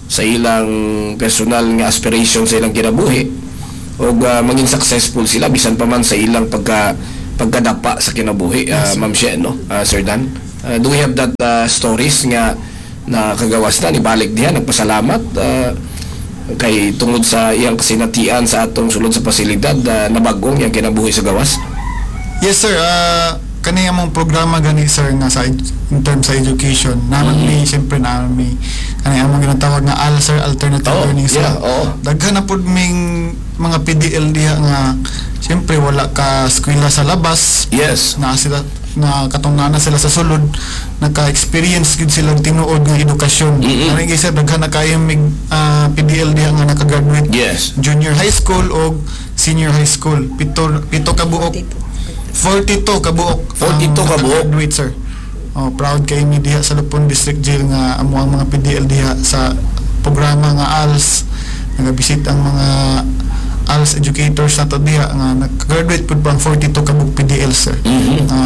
sa ilang personal nga aspiration sa ilang kinabuhi. Og maging successful sila bisan pa man sa ilang pagkadapa sa kinabuhi, Ma'am She, no? Sir Dan, do we have that stories nga nakagawas na nibalik diha, nagpasalamat kay tungod sa iyang kasinatian sa atong sulod sa pasilidad, nabagong iyang kinabuhi sa gawas? Yes, sir, kani among programa gani, sir, nga sa in terms sa education naman mi, siyempre naman mi kani among ginatawag nga AL, sir, alternative learning sa daghan na pud ming mga PDL diha nga siyempre wala ka eskwela sa labas. Na sila na katong naa na sila sa sulod, naka-experience gud sila og tinuod nga edukasyon. Ani sir, daghan na kayo mig PDL diha nga naka-graduate junior high school o senior high school, pito ka buok, 42 ka buok. 42 ka buok. Graduate, sir. Oh, proud kay mi diha sa Lupon District Jail nga amo ang mga PDL diha sa programa nga ALS, nagabisit ang mga ALS educators nato diha nga nag-graduate pud pa ang 42 ka buok PDL, sir. Nga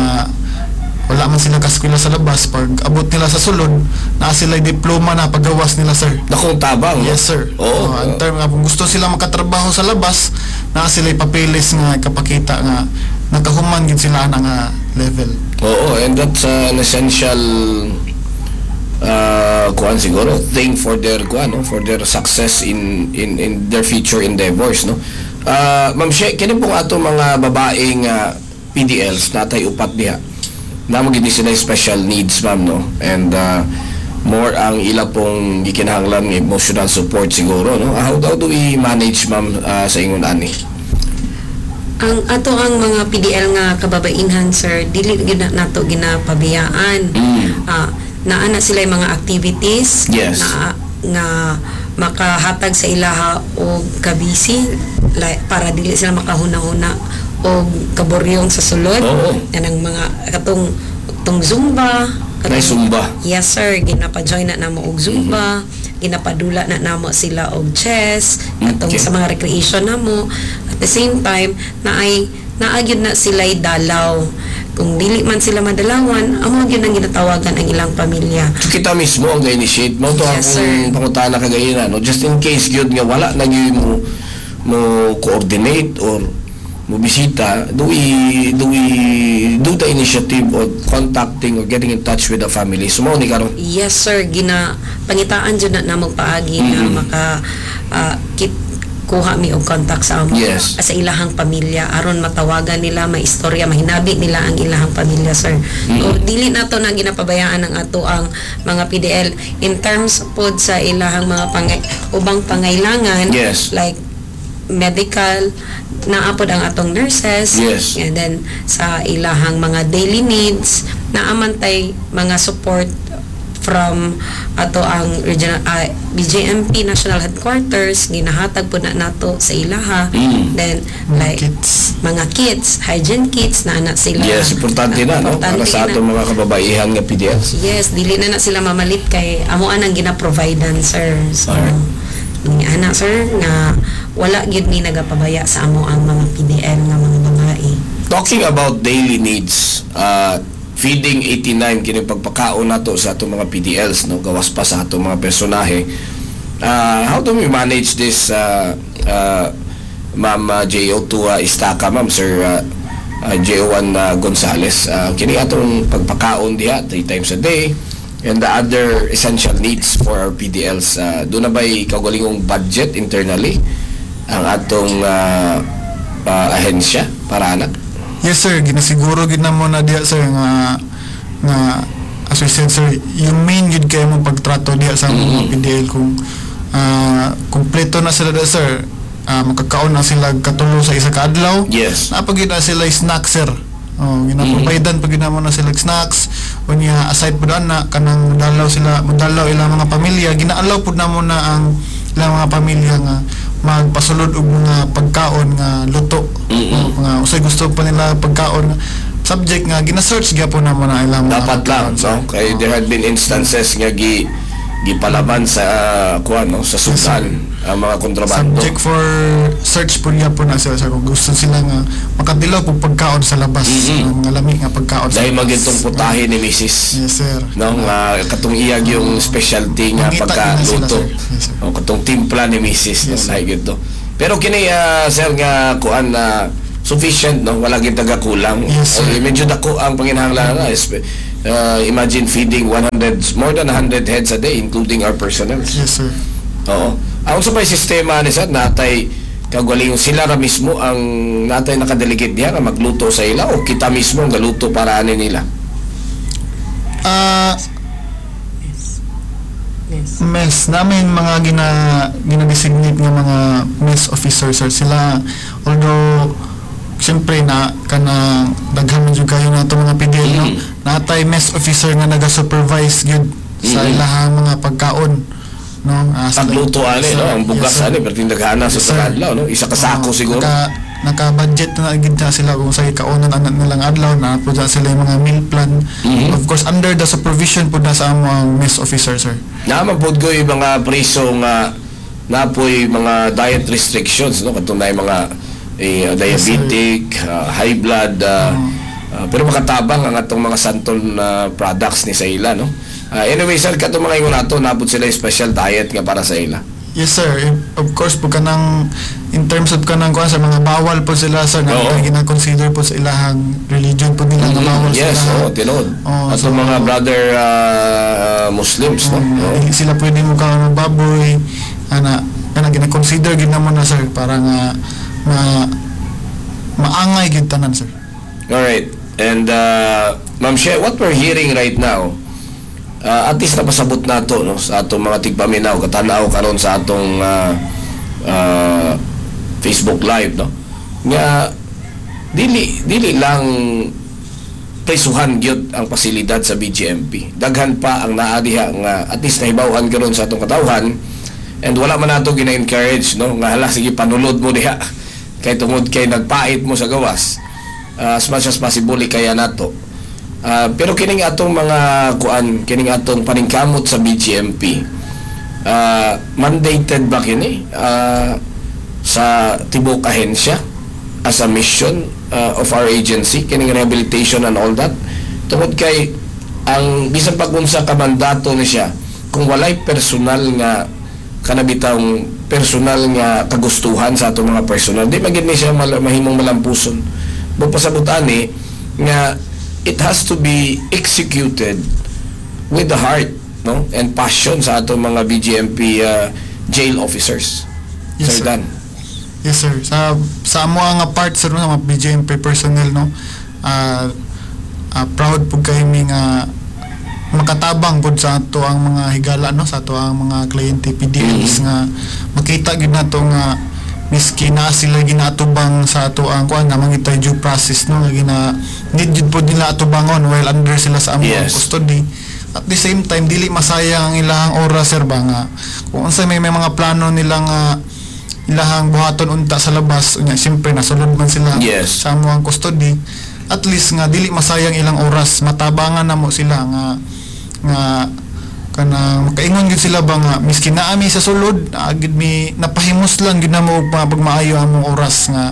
wala man sila kaskwela sa labas, pag abot nila sa sulod, naa sila diploma na paggawas nila, sir. Dakong tabang, no? Yes, sir. Oo. Oh, ang term nga kung gusto sila makatrabaho sa labas, naa sila papeles nga kapakita nga nakahuman gid sila ana nga level. Oo, and that's an essential kuan siguro thing for their kuan, no, for their success in their future endeavors, no. Ma'am She, kini pong ato mga babaeng PDLs, natay upat diha. Namo gid ni sila special needs, ma'am, no. And more ang ila pong gikinahanglan nga emotional support siguro, no. How do we manage, ma'am, sa ingon ani? Ang ato ang mga PDL nga kababainhan, sir, dili gyud na nato ginapabiyaan. Naa na sila yung mga activities na nga makahatag sa ilaha og kabisi, like, para dili sila makahuna-huna og kaboryong sa sulod. Kanang mga katong tong Zumba. Nay Zumba. Yes, sir, ginapa-join na namo og Zumba, ginapadula na namo sila og chess, katong sa mga recreation namo. At the same time, naay naa gyud na sila dalaw. Kung dili man sila madalawan, amo gyud ang ginatawagan ang ilang pamilya. So kita mismo ang ga-initiate mo to Yes, akong sir. pangutana kagayina, no, just in case gyud nga wala na gyud mo coordinate or mo bisita, do we do the initiative of contacting or getting in touch with the family? So mao ni karon. Yes, sir, gina pangitaan jud na namo paagi nga maka kit kuha mi og contact sa amo sa ilahang pamilya aron matawagan nila, maistorya, mahinabi nila ang ilahang pamilya, sir. So dili nato na ginapabayaan ang ato ang mga PDL in terms pod sa ilahang mga ubang pangailangan, like medical, naa pod ang atong nurses. And then sa ilahang mga daily needs, naa man tay mga support from ato ang regional BJMP National Headquarters, ginahatag po na nato sa ilaha. Then mga like kits. Mga kits, hygiene kits na na sila. Yes, importante na, no, Importante para sa na. atong mga kababaihan nga PDLs. Yes, dili na na sila mamalit kay amo anang gina-providean, sir. So ni ana, sir, nga wala gyud ni nagapabaya sa amo ang mga PDL nga mga babae. Talking about daily needs, feeding 89 kini pagpakaon nato sa atong mga PDLs, no, gawas pa sa atong mga personahe. How do we manage this, Ma'am JO2 Istaka, Ma'am Sir JO1 Gonzales? Kini atong pagpakaon diha three times a day and the other essential needs for our PDLs. Doon na ba'y kaugalingong budget internally ang atong ahensya para anak? Yes, sir, ginasiguro gid namo na diha, sir, nga nga as we said, sir, yung main gid kay mo pagtrato diha sa mga PDL kung kumpleto na sila diha, sir. Makakaon na sila katulo sa isa ka adlaw. Naa pa gyud na sila snack, sir. Oh, gina-providean pa gyud namo na sila snacks. Unya aside pud ana, kanang dalaw sila, modalaw ilang mga pamilya, gina-allow pud namo na ang ilang mga pamilya nga magpasulod og mga pagkaon nga luto. Oh, nga usay gusto pa nila pagkaon, subject nga gina-search gyapon namo na ilang mga Dapat lang, pagkaon, sir. no? Kay there had been instances nga gipalaban sa kuan, no, sa sudan ang mga kontrabando. Subject for search po gyapon na sila, sir, kung gusto sila nga makadilaw po pagkaon sa labas, mga lami nga pagkaon sa Dahil labas. magitong putahe ni Mrs. Yes, sir. No, nga katong iyag yung specialty nga Mangita yun na sila, pagkaluto. sir. Yes, sir. O katong timpla ni Mrs. No, Yes, sir. nahi gito. Pero kini, sir, nga kuan na sufficient, no? Wala gyud tagakulang. Yes, sir. Okay, medyo dako ang panginahanglan na. Imagine feeding 100, more than 100 heads a day, including our personnel. Yes, sir. Oo. Ang sa pay sistema ni sir, natay kagaling sila ra mismo ang natay nakadelegate diha nga magluto sa ila o kita mismo ang galuto para ani nila? Mess namin mga gina-designate nga mga mess officers, sir, sila. Although siyempre na kanang daghan man jud kayo na itong mga PDL, no, natay mess officer nga naga-supervise gyud sa ilahang mga pagkaon, no. Pagluto ani, no, ang bugas Yes, sir. ani pero tindaghana sa Yes, sir. adlaw, no, isa ka sako Oo, siguro. Naka budget na gid na sila kung sa kaunon anak nilang adlaw na po dyan sila yung mga meal plan. Of course, under the supervision po na sa among mess officer, sir. Naman pod ko yung mga priso nga napoy mga diet restrictions, no, katong naay mga diabetic, high blood, pero makatabang ang atong mga santol na products ni sa ila, no. Anyway, sir, katong mga ingon nato, napod sila yung special diet nga para sa ila. Yes, sir. Of course po, kanang in terms of kanang kuan sa mga bawal po sila, sir, nga gina-consider po sa ilahang religion po nila nga bawal sila. Oo, tinuod. Oo, atong mga brother Muslims, no. Dili sila pwede mo kaon ng baboy ana, kanang gina-consider gid namo na, sir, para nga maangay gid tanan, sir. All right. And Ma'am She, what we're hearing right now, at least napasabot nato, no, sa atong mga tigpaminaw, katanaw karon sa atong Facebook Live, no. Nga dili dili lang prisuhan gyud ang pasilidad sa BGMP. Daghan pa ang naa diha nga at least nahibaw-an karon sa atong katawhan and wala man nato gina-encourage, no, nga hala, sige, panulod mo diha kay tungod kay nagpait mo sa gawas. As much as possible kaya nato. Pero kining atong mga kuan, kining atong paningkamot sa BGMP, mandated ba kini sa tibok ahensya as a mission of our agency, kining rehabilitation and all that? Tungod kay ang bisan pag unsa ka mandato ni siya, kung walay personal nga kanabitang personal nga kagustuhan sa atong mga personal, di man gid ni siya mahimong malampuson. Magpasabot ani nga it has to be executed with the heart, no, and passion sa atong mga BGMP jail officers. Yes, Sir sir. Dan. Yes, sir. Sa amo nga part, sir, no, mga BJMP personnel, no. Proud pud kay mi nga makatabang pud sa ato ang mga higala, no, sa ato ang mga kliyente PDLs nga makita gid nato nga miski na sila ginatubang sa ato ang kuan na mga due process, no, nga gina need jud pud nila atubangon while under sila sa among custody. At the same time, dili masayang ang ilahang oras, sir, ba, nga kung unsay may mga plano nila nga ilahang buhaton unta sa labas unya, siyempre nasulod man sila sa among custody, at least nga dili masayang ilang oras, matabangan na mo sila nga kanang makaingon gyud sila ba nga miski naa mi sa sulod, naa gyud mi napahimuslan gyud namo og mga pagmaayo among oras nga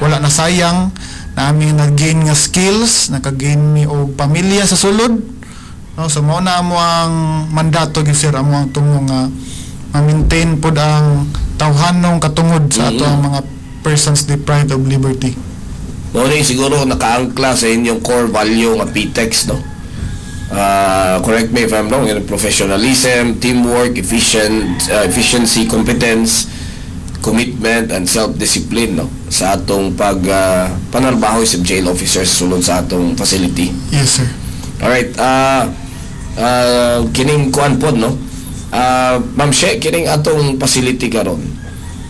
wala na sayang naami nag-gain nga skills, naka-gain mi og pamilya sa sulod, no. So mao na amo ang mandato gyud, sir, amo ang tungo nga ma-maintain pod ang tawhanong katungod sa ato ang mga persons deprived of liberty. Mao ni siguro nakaangkla sa inyong core value nga PTEX, no? Correct me if I'm wrong, yun, professionalism, teamwork, efficiency, competence, commitment, and self-discipline, no? Sa atong pag panarbaho sa jail officers sulod sa atong facility. Yes, sir. Alright, kining kuan pod, no? Ma'am She, kining atong facility karon.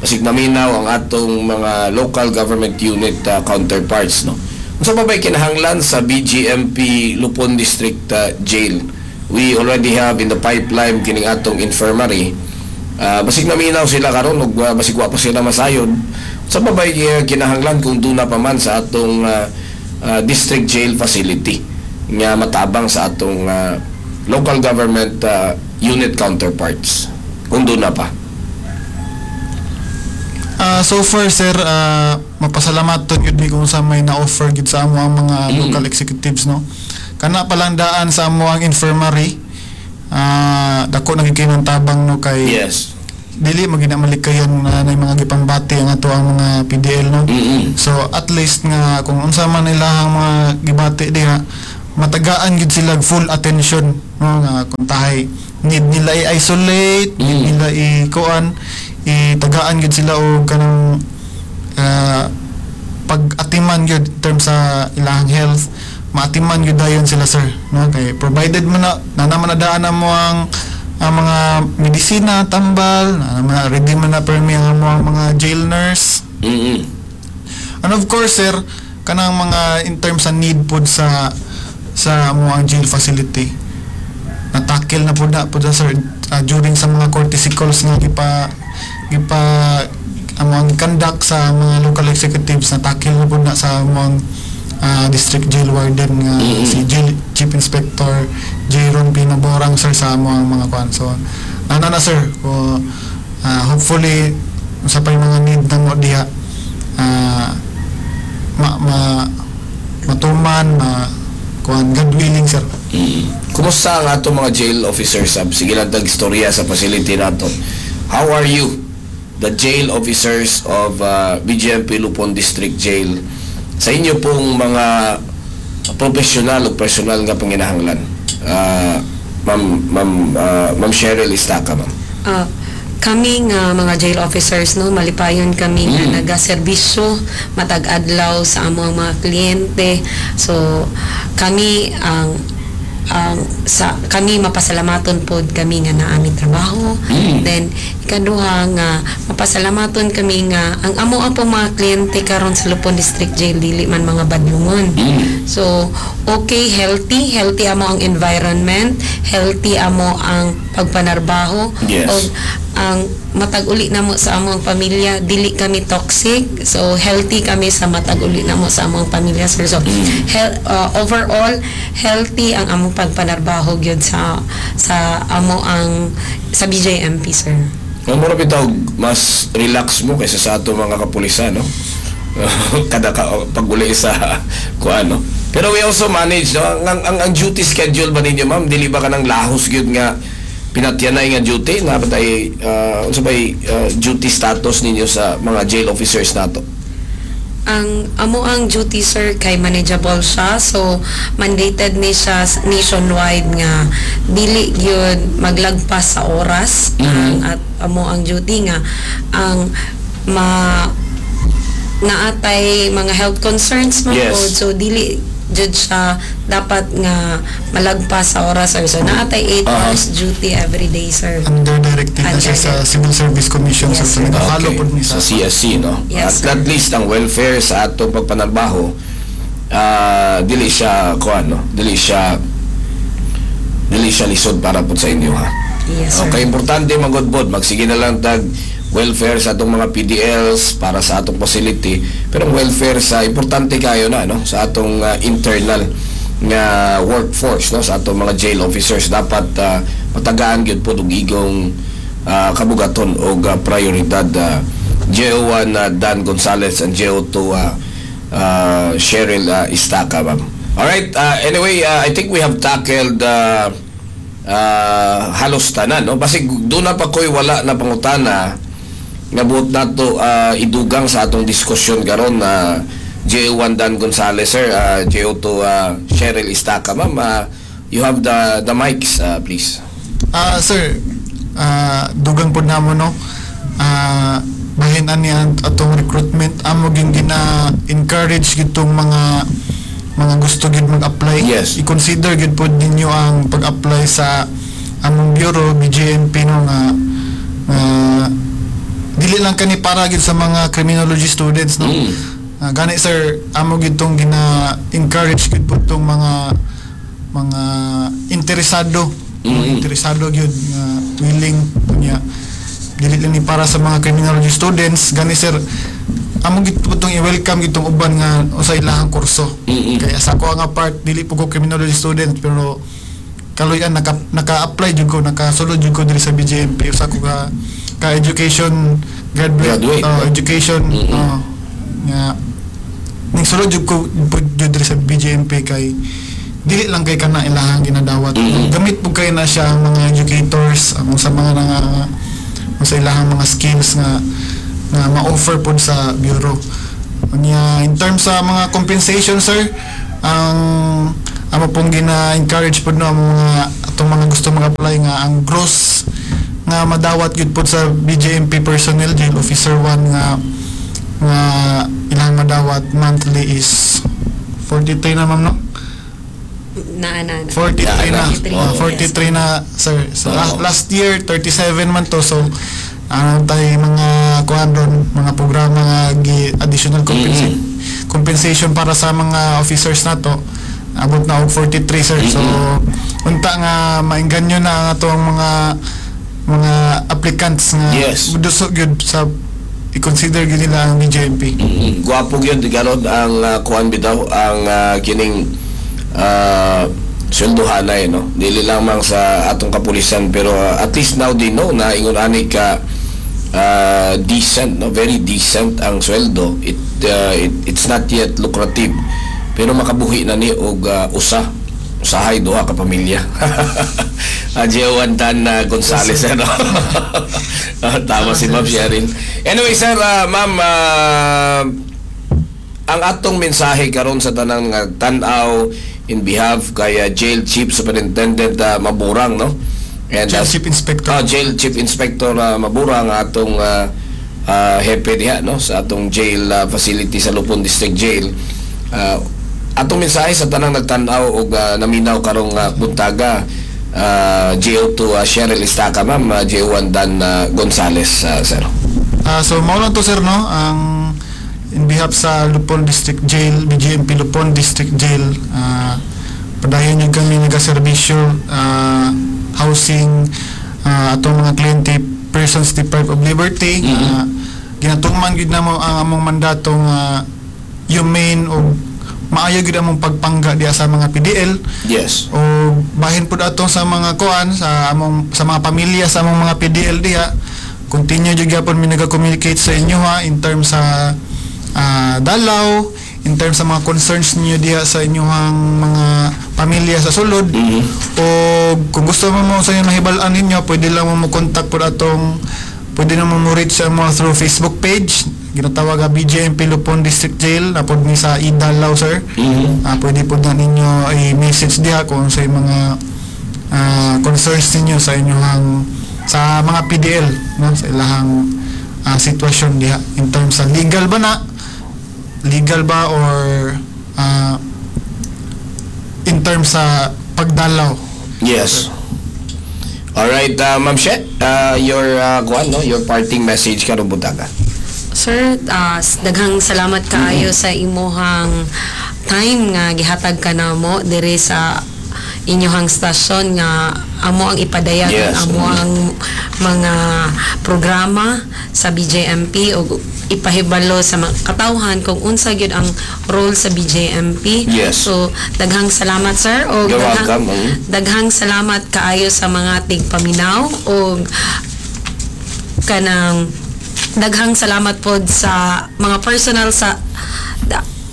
Basig naminaw ang atong mga local government unit counterparts, no? Unsa pa ba'y kinahanglan sa BGMP Lupon District Jail? We already have in the pipeline kining atong infirmary. Basig naminaw sila karon ug basig wa pa sila masayod. Unsa pa ba'y kinahanglan kung duna pa man sa atong district jail facility nga matabang sa atong local government unit counterparts kung duna pa? So far, sir, mapasalamaton gyud mi kung sa may na-offer gyud sa amo ang mga local executives, no. Kana palang daan sa amo ang infirmary, dako na gyud kay ng tabang, no, kay dili mo gina malikayan na na mga gipangbati ang ato ang mga PDL, no? So at least nga kung unsa man ilahang mga gibati diha, matagaan gid sila full attention, no, nga kung tahay need nila i-isolate, need nila i-kuan, itagaan gid sila og kanang pag-atiman gyud in terms sa ilahang health, maatiman gyud dayon sila, sir, no, kay provided mo na na naman na daan na mo ang mga medisina, tambal na naman, ready man na permi ang mo ang mga jail nurse. And of course, sir, kanang mga in terms sa need pod sa mo ang jail facility, na-tackle na po na, sir, during sa mga courtesy calls nga gipa gipa ang mga conduct sa mga local executives. Na tackle na po na sa mga district jail warden nga si Jail Chief Inspector Jairon Pinoborang, sir, sa mga mga kuan. So ana na, sir, ko hopefully sa pa yung mga need namo diha, ma, ma matuman, ma kuan, God willing, sir. Kumusta ang ato mga jail officers? Sab? Sige lang tag istorya sa facility nato. How are you? The jail officers of BJMP Lupon District Jail. Sa inyo pong mga professional o personal nga panginahanglan. Ma'am Cheryl Istaka, ma'am. Kami nga mga jail officers, no, malipayon kami nga nagaserbisyo matag adlaw sa among mga kliyente. So kami ang sa kami, mapasalamaton pod kami nga naa mi trabaho. Then ikaduha nga mapasalamaton kami nga ang amo ang pong mga kliyente karon sa Lupon District Jail dili man mga badlungon. So, okay, healthy, healthy amo ang environment, healthy amo ang pagpanarbaho. Og ang matag uli namo sa among pamilya, dili kami toxic. So, healthy kami sa matag uli namo sa among pamilya, sir. So, overall, healthy ang among pagpanarbaho gyud sa amo ang sa BJMP, sir. Ang mura bitaw mas relax mo kaysa sa ato mga kapulisan, no? Kada ka, pag-uli sa kuan, no? Pero we also manage, no? Ang duty schedule ba ninyo, ma'am? Dili ba kanang lahos gyud nga pinatyanay nga duty? Na ba tay unsa bay duty status ninyo sa mga jail officers nato? Ang amo ang duty, sir, kay manageable siya. So mandated ni siya nationwide nga dili gyud maglagpas sa oras ang at amo ang duty nga ang ma naatay mga health concerns man pod. So dili jud siya dapat nga malagpas sa oras, sir. So naatay 8 hours duty every day, sir. Under directive na siya Under sa Civil Service Commission. Yes, Sir. sir. So nag-follow pod ni sa sa CSC, no? Yes, At, sir. at least ang welfare sa atong pagpanarbaho, dili siya kuan, no? Dili siya lisod para po sa inyo, ha. Yes, sir. Okay, importante magud pod magsige na lang tag welfare sa atong mga PDLs para sa atong facility, pero ang welfare sa importante kayo na, no, sa atong internal nga workforce, no, sa atong mga jail officers, dapat matagaan gyud pod og igong kabugaton og prioridad, JO1 Dan Gonzalez and JO2 Cheryl Istaka, ma'am. Alright, anyway, I think we have tackled halos tanan, no? Basig doon na pa ko'y wala na pangutana nga buot nato idugang sa atong diskusyon karon na JO1 Dan Gonzalez, sir, JO2 Cheryl Istaka, ma'am, you have the mics, please. Sir, dugang pod namo, no. Bahin ani ang atong recruitment, amo gyud gina encourage gitong mga gusto gyud mag-apply. I-consider gyud pod ninyo ang pag-apply sa among bureau BJMP, no, nga dili lang kani para gyud sa mga criminology students, no. Gani, sir, amo gyud tong gina encourage gyud pod tong mga interesado, mga interesado gyud nga willing niya. Dili lang ni para sa mga criminology students. Gani, sir, amo gyud po tong i-welcome gyud tong uban nga usa ilahang kurso. Kaya sa ako nga part, dili po ko criminology student, pero kaluyan naka-apply jud ko, nakasulod jud ko diri sa BJMP. Usa ko ka education graduate, Graduate. Education, nga ning sulod jud ko po jud diri sa BJMP kay dili lang kay kana ilahang ginadawat. Gamit po kay na siya ang mga educators, ang sa mga nga Sa ilahang mga skills nga nga ma-offer pod sa bureau. Unya, in terms sa mga compensation, sir, ang amo pong gina-encourage pod, no, ang mga atong mga gusto mag-apply nga ang gross nga madawat gyud pod sa BJMP personnel, jail officer 1, nga nga ilang madawat monthly is 43 na, ma'am, no? Na, na, na. 43 na. 43. Ah, 43 na, sir. So last year 37 man to, so ano tayo mga kuan ron, mga programa nga additional compensation para sa mga officers nato, abot na og 43, sir. So unta nga maingganyo na ang atong mga applicants nga muduso gyud sa i-consider gyud nila ang BJMP. Gwapo gyud karon ang kuan bitaw ang kining sweldohanay, no, dili lamang sa atong kapulisan, pero at least now they know na ingon ani ka decent, no, very decent ang sweldo. It it's not yet lucrative, pero makabuhi na ni og usa, usahay duha ka pamilya. JO1 Dan Gonzales, ano. Tama si Ma'am Sheryl. Anyway, sir, ma'am, ang atong mensahe karon sa tanang nga tan-aw in behalf kay Jail Chief Superintendent Maburang, no? And Jail Chief Inspector. Ah, Jail Chief Inspector Maburang, atong hepe diha, no, sa atong jail facility sa Lupon District Jail. Atong mensahe sa tanang nagtan-aw og naminaw karong buntaga, JO2 Cheryl Estaca, ma'am, JO1 Dan Gonzales, sir. Ah, so mao lang to, sir, no, ang in behalf sa Lupon District Jail, BJMP Lupon District Jail, padayon yung kami nagaserbisyo, housing atong mga kliyente, persons deprived of liberty. Ginatuman gyud namo ang among mandato nga humane o maayo gyud among pagpangga diha sa mga PDL. O bahin pud ato sa mga kuan sa among, sa mga pamilya sa among mga PDL diha, continue jud gyapon mi naga-communicate sa inyo ha, in terms sa dalaw, in terms sa mga concerns niyo diha sa inyong mga pamilya sa sulod. O kung gusto mo mo sa inyo mahibal-an ninyo, pwede lang mo mo contact pud atong, pwede na mo mo reach sa mo through Facebook page ginatawag nga BJMP Lupon District Jail na pod ni sa Idalaw, sir. Pwede po na ninyo i-message diha kung sa mga concerns ninyo sa inyong, sa mga PDL, no, sa ilahang sitwasyon diha in terms sa legal ba na, legal ba or in terms sa pagdalaw. Yes. All right, Ma'am She, your kuan, no, your parting message karong buntaga. Sir, daghang salamat kaayo sa imuhang time nga gihatag ka namo diri sa inyuhang stasyon nga amo ang ipadayag amo ang mga programa sa BJMP ug ipahibalo sa mga katawhan kung unsa gyud ang role sa BJMP. So daghang salamat, sir, og You're daghang, welcome. Daghang salamat kaayo sa mga tigpaminaw ug kanang daghang salamat pod sa mga personal sa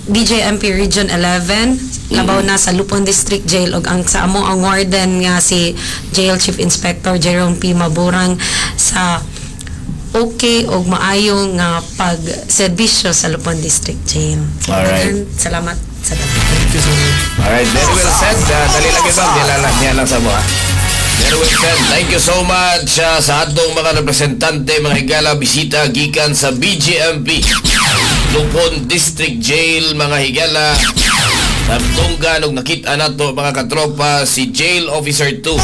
BJMP Region 11, labaw na sa Lupon District Jail ug ang sa amo ang warden nga si Jail Chief Inspector Jerome P. Maburang sa okay og maayo nga pagserbisyo sa Lupon District Jail. Alright. Daghang salamat sa tanan. Thank you, sir. Alright, very well said. Dali lang yun, ma'am. Niya lang sa mga. Very well said. Thank you so much sa atong mga representante, mga higala, bisita, gikan sa BJMP Lupon District Jail, mga higala. Sa tunggan, ug nakita nato, mga katropa, si Jail Officer 2,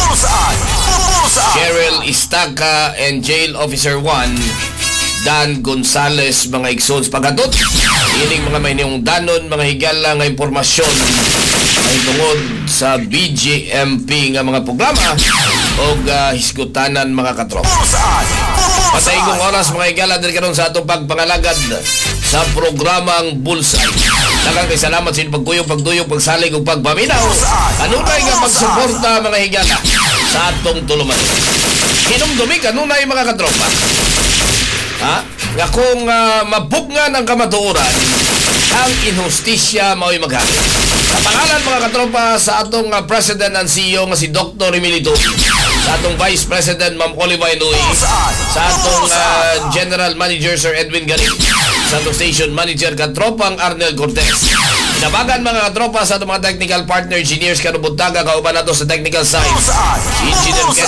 Cheryl Istaca, and Jail Officer 1, Dan Gonzales, mga igsoons. Pagkatot, ining mga may danon, mga higala nga impormasyon ay tungod sa BJMP nga mga programa o hisgutanan, mga katropa. Pasaygong oras, mga higala, diri karon sa atong pagpangalagad sa programang Bullseye. Daghang kay salamat sa inyong pagkuyog, pagduyog, pagsalig ug pagpaminaw. Kanunay nga pagsuporta, mga higala, sa atong tuluman. Hinumdumi kanunay, mga katropa. Ha? Nga kung mabugnan ang kamatuoran, ang inhustisya mao'y maghari. Sa pangalan, mga katropa, sa atong President and CEO nga si Dr. Emilio, sa Sa atong Vice President, Ma'am Oliver Nui. Sa atong General Manager, Sir Edwin Garin. Sa atong Station Manager, Katropang Arnel Cortez. Inabagan, mga katropa, sa atong mga technical partner engineers karong buntaga, kauban nato sa technical side, si Engineer Kenneth